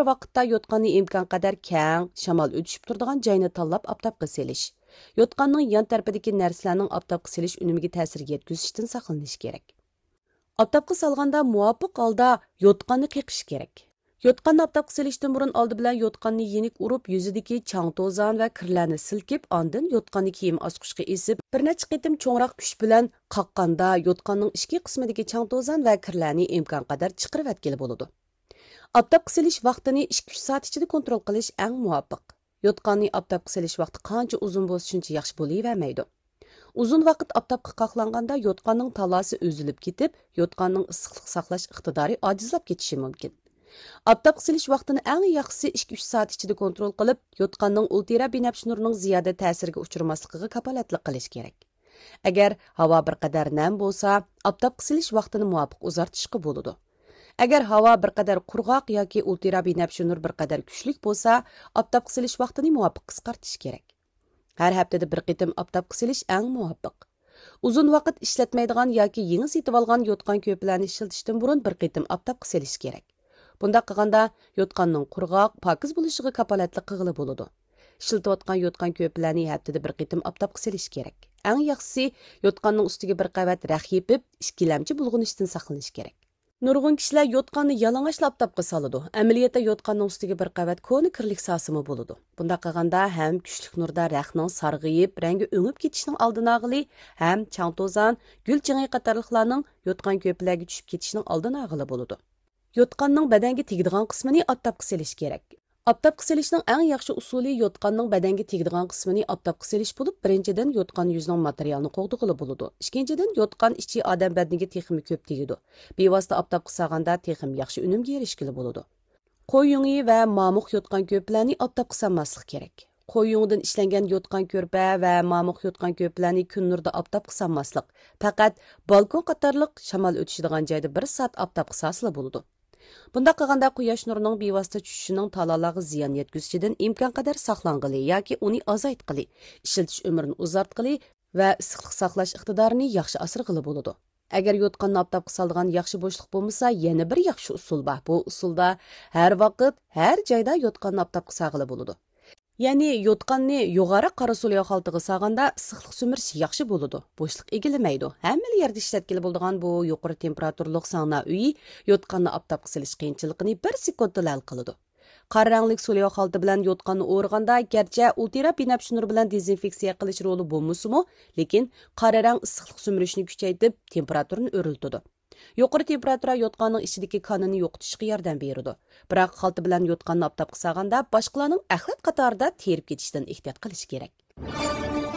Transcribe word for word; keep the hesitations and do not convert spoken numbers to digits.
ۋاقىتتا يوتقاننى ئىمكانقەدەر كەڭ، شامال ئۆتۈشۈپ تۇرىدىغان جاينى تاللاپ ئاپتاپقا سېلىش. يوتقاننىڭ يان تەرىپىدىكى نەرسىلەرنىڭ ئاپتاپقا سېلىش ئۈنۈمىگە تەسىر يەتكۈزۈشتىن ساقلىنىش كېرەك. ئاپتاپقا سالغاندا مۇۋاپىق ھالدا يوتقاننى قېقىش كېرەك. يوتقاننى ئاپتاپقا سېلىشتىن بۇرۇن ئالدى بىلەن يوتقاننى يېنىك ئۇرۇپ، يۈزىدىكى چاڭ-توزان ۋە كىرلەرنى سىلكىپ، ئاندىن يوتقاننى كىيىم ئاسقۇچقا ئېسىپ، بىر نەچچە قېتىم چوڭراق كۈچ بىلەن قاققاندا، يوتقاننىڭ ئىچكى قىسمىدىكى چاڭ-توزان ۋە كىرلەرنى ئىمكانقەدەر چىقىرىۋەتكىلى بولىدۇ. ئاپتاپقا سېلىش ۋاقتىنى ئىككى ئۈچ سائەت ئىچىدە كونترول قىلىش ئەڭ مۇۋاپىق. يوتقاننى ئاپتاپقا سېلىش ۋاقتى قانچە ئۇزۇن بولسا، شۇنچە ياخشى بولۇۋەرمەيدۇ. ئۇزۇن ۋاقىت ئاپتاپقا قاقلانغاندا، يوتقاننىڭ تالاسى ئۈزۈلۈپ كېتىپ، يوتقاننىڭ ئىسسىقلىق ساقلاش ئىقتىدارى ئاجىزلاپ كېتىشى مۇمكىن. ئاپتاپقا سېلىش ۋاقتىنى ئەڭ ياخشىسى ئىككى ئۈچ سائەت ئىچىدە كونترول قىلىپ، يوتقاننىڭ ئۇلترا بىنەپشە نۇرىنىڭ زىيادە تەسىرىگە ئۇچرىماسلىقىغا كاپالەتلىك قىلىش كېرەك. ئەگەر ھاۋا بىر قەدەر نەم بولسا، ئاپتاپقا سېلىش ۋاقتىنى مۇۋاپىق ئۇزارتىشقا بولىدۇ. ئەگەر ھاۋا بىر قەدەر قۇرغاق ياكى ئۇلترا بىنەپشە نۇر بىر قەدەر كۈچلۈك بولسا، ئاپتاپقا سېلىش ۋاقتىنى مۇۋاپىق قىسقارتىش كېرەك. ھەر ھەپتىدە بىر قېتىم ئاپتاپقا سېلىش ئەڭ مۇۋاپىق. ئۇزۇن ۋاقىت ئىشلەتمەيدىغان ياكى يېڭى سېتىۋالغان يوتقان كۆرپىلەرنى ئىشلىتىشتىن بۇرۇن بىر قېتىم ئاپتاپقا سېلىش كېرەك. بۇنداق قىلغاندا، يوتقاننىڭ قۇرغاق، پاكىز بولۇشىغا كاپالەتلىك قىلغىلى بولىدۇ. ئىشلىتىۋاتقان يوتقان كۆرپىلەرنى ھەپتىدە بىر قېتىم ئاپتاپقا سېلىش كېرەك. ئەڭ ياخشىسى، يوتقاننىڭ ئۈستىگە بىر قەۋەت رەخ يېپىپ، ئىككىلەمچى بۇلغىنىشتىن ساقلىنىش كېرەك. نۇرغۇن كىشىلەر يوتقاننى يالىڭاچلا ئاپتاپقا سالىدۇ. ئەمەلىيەتتە يوتقاننىڭ ئۈستىگە بىر قەۋەت كونا كىرلىك سالسىمۇ بولىدۇ. بۇنداق قىلغاندا ھەم كۈچلۈك نۇردا رەخنىڭ سارغىيىپ، رەڭگى ئۆڭۈپ كېتىشىنىڭ ئالدىنى ئالغىلى، ھەم چاڭ-توزان، گۈل چېڭى قاتارلىقلارنىڭ يوتقان كۆرپىلەرگە چۈشۈپ كېتىشىنىڭ ئالدىنى ئالغىلى بولىدۇ. يوتقاننىڭ بەدەنگە تېگىدىغان قىسمىنى ئاپتاپقا سېلىش كېرەك. ئاپتاپقا سېلىشنىڭ ئەڭ ياخشى ئۇسۇلى يوتقاننىڭ بەدەنگە تېگىدىغان قىسمىنى ئاپتاپقا سېلىش بولۇپ، بىرىنچىدىن، يوتقان يۈزىنىڭ ماتېرىيالىنى قوغدىغىلى بولىدۇ. ئىككىنچىدىن، يوتقان ئىچى ئادەم بەدىنىگە تېخىمۇ كۆپ تېگىدۇ. بىۋاسىتە ئاپتاپقا سالغاندا تېخىمۇ ياخشى ئۈنۈمگە ئېرىشكىلى بولىدۇ. قوي يۇڭى ۋە مامۇق يوتقان كۆرپىلەرنى ئاپتاپقا سالماسلىق كېرەك. قوي يۇڭىدىن ئىشلەنگەن يوتقان كۆرپە ۋە مامۇق يوتقان كۆرپىلەرنى كۈن نۇرىدا ئاپتاپقا سالماسلىق، پەقەت بالكون قاتارلىق شامال ئۆتۈشىدىغان جايدا بىر سائەت ئاپتاپقا سالسىلا بولىدۇ. بۇنداق قىلغاندا قۇياش نۇرىنىڭ بىۋاسىتە چۈشۈشىنىڭ تالالارغا زىيان يەتكۈزۈشىدىن ئىمكانقەدەر ساقلانغىلى ياكى ئۇنى ئازايتقىلى، ئىشلىتىش ئۆمرىنى ئۇزارتقىلى ۋە ئىسسىقلىق ساقلاش ئىقتىدارىنى ياخشى ئاسرىغىلى بولىدۇ. ئەگەر يوتقاننى ئاپتاپقا سالىدىغان ياخشى بوشلۇق بولمىسا، يەنە بىر ياخشى ئۇسۇل بار. بۇ ئۇسۇلدا ھەر ۋاقىت، ھەر جايدا يوتقاننى ئاپتاپقا سالغىلى بولىدۇ. يەنى يوتقاننى يوغانراق قارا سولياۋ خالتىغا سالغاندا ئىسسىقلىق سۈمۈرۈشى ياخشى بولىدۇ، بوشلۇق ئىگىلىمەيدۇ. ھەممىلا يەردە ئىشلەتكىلى بولىدىغان بۇ يۇقىرى تېمپېراتۇرىلىق ساڭنا ئۆيى يوتقاننى ئاپتاپقا سېلىش قىيىنچىلىقىنى بىر سېكۇنتتىلا ھەل قىلىدۇ. قارا رەڭلىك سولياۋ خالتا بىلەن يوتقاننى ئورىغاندا، گەرچە ئۇلترا بىنەپشە نۇر بىلەن دېزىنفېكسىيە قىلىش رولى بولمىسىمۇ، لېكىن قارا رەڭ ئىسسىقلىق سۈمۈرۈشنى كۈچەيتىپ، تېمپېراتۇرىنى ئۆرلىتىدۇ. يۇقىرى تېمپېراتۇرا يوتقاننىڭ ئىچىدىكى كانىنى يوقىتىشقا ياردەم بېرىدۇ. بىراق خالتا بىلەن يوتقاننى ئاپتاپقا سالغاندا، باشقىلارنىڭ ئەخلەت قاتارىدا تېرىپ كېتىشىدىن ئېھتىيات قىلىش كېرەك.